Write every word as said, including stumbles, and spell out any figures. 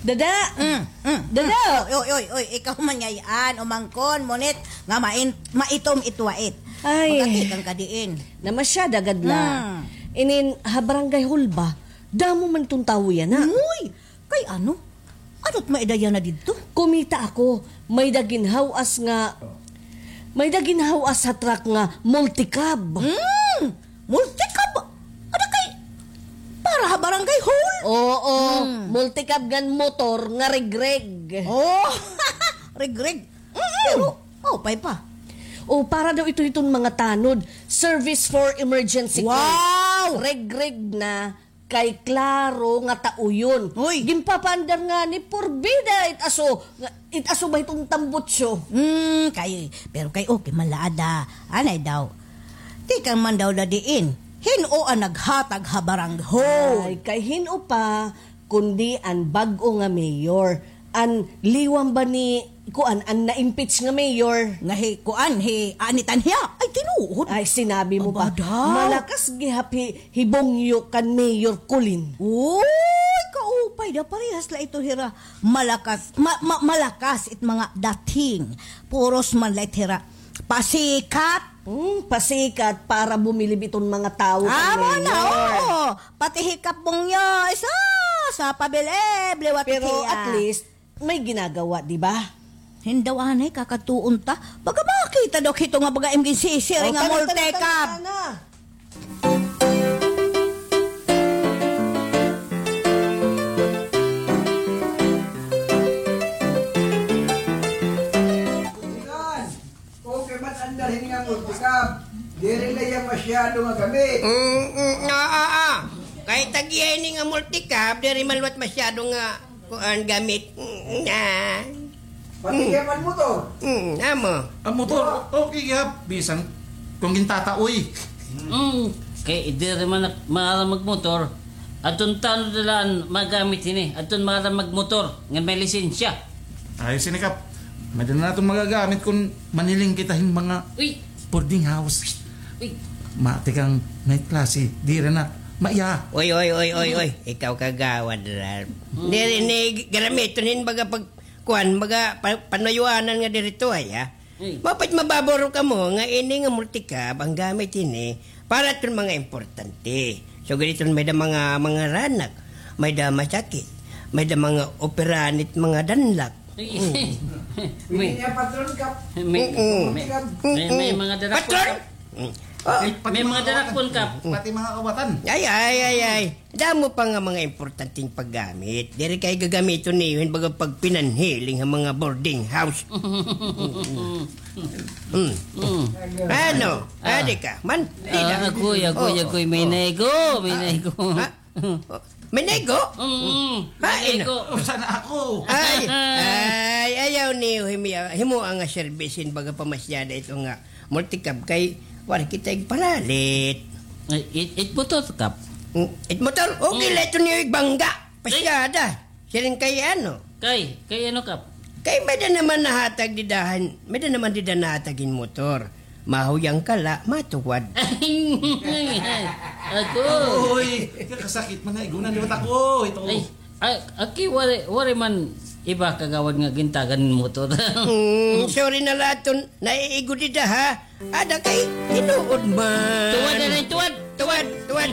Dada! Mm, mm, Dada! mm. Oy, oy, oy, oy, ikaw man ngay-an, umangkon, ngunit nga main-, maitom it wait. Ay. Magkakita ka diin. Namasyada gad la. Mm. Inin ha barangay hall ba? Damo man iton tawo yana. Uy! Kay ano? Ano't may-ada yana didto? Kumita ako, may-ada ginhaw-as nga, may-ada ginhaw-as ha truck nga multicab. Mm! Multicab? Ada kay para ha barangay hall? Oo, Hmm. multicab ngan motor nga regreg. Oh, regreg. Mm-mm. Pero, maupay pa. O, para daw ito hiton mga tanod. Service for emergency call. Wow! Regreg na kay klaro nga tauyon. Uy. Ginpapaandar ngani porbida it aso, nga, it aso ba hiton tambutsyo? Hmm, kay, pero kay okay man la ada. Anay daw. Tikang man daw da diin. Hin-o an naghatag ha barangay hall? Ay, kay hin-o pa, kundi an bag-o nga mayor. An liwang ba ni, kuan, an na-impeach nga mayor. Nga hi, kuan, hi Anitan hiya. Ay, tinuod. Ay, sinabi mo pa. Aba daw. Malakas gihap hi, hi Bongyo kan Mayor Colin. Uy, kaupay da, parehas la ito hira. Malakas, ma-, ma-, malakas it mga dating. Puros man la it hira. Pasikat. Hmm, pasikat para bumilib iton mga tawo kan Amo na, mayor. Oo. Pati hi Kap Bongyo, isa, sa pabilib, liwat Pero hiya. At least, may ginagawa, di ba? Hin-o anay, kakadtuon ta. Baga makita daw hito nga baga M K C C, Oh, nga tara, tara, multicab. Tara, tara. Okay, mat andar hini nga multicab. Diri la iya masyado nga gamit. Mm, mm, ah, ah, ah. Kay tag-iya ini nga multicab, diri man liwat masyado nga kuan gamit. Mm, ah. Pati kay an motor. Mm, amo. An motor, okay gihap, bisan kon gintataoy. Mm, kay diri man ak-, maaram magmotor. Adton tanod la an magamit hini. Adton maaram magmotor ngan may lisensya. Ayos ini, Kap. May-ada na naton magagamit kon manhiling kita hin mga Uy! boarding house. Uy! Matikang may klase, diri na. Maiha. Oy, oy, oy, oy, oy. Ikaw kagawad, Ralph. Hmm. Diri ni gamiton hin baga pag, kuan, baga pa-, panayuanan nga diri to, ay, ha? Uy. Mapait mababaro kamo nga ini nga multicab, an gamit hini, para adton mga importante. So, ganiton may-ada mga, mga ranak, may-ada masakit, may-ada mga operahan it mga danlak. May, Pwede niya patron ka. may, Mm-mm. may, may, may mga darakon Patron? ka. Mm. Oh. May, may mga darakon ka. Pati mga kawatan. Ay, ay, ay, ay. Damo pa nga mga importanteng paggamit. Diri kay gagamiton niyo hin baga pagpinanhiling ha mga boarding house. Mm. Mm. Ano? Ah. Adi ka? Man, di Ah, na. agoy, agoy, Oh, agoy, may oh. naigo, may Ah. naigo. Ha? May naigo? Mm, Ha, may ina. naigo. Usa na ako. Ay, ay, ayaw niyo himi-, himoa nga service hin baga pamasyada ito nga multicab kay waray kita igparalit. Ay, it, it motor, Kap. Mm, it motor? Okay Mm. la ito niyo igbangga. Pasyada. Siring kay ano? Kay, kay ano, Kap? Kay may-ada naman nahatag dida hin, may-ada naman dida nahatag hin motor. Mahuyang ka la, matuwad. Ako. Uy, kakasakit man nga igunan, di ba, tako? Ito. Ay, ay, aki, waray, waray man iba kagawad nga gintagan hin motor. Hmm, sorry na la adton naiigo dida, ha? Ada kay tinuod man. Tuwad na rin, tuwad. Tuwad, tuwad.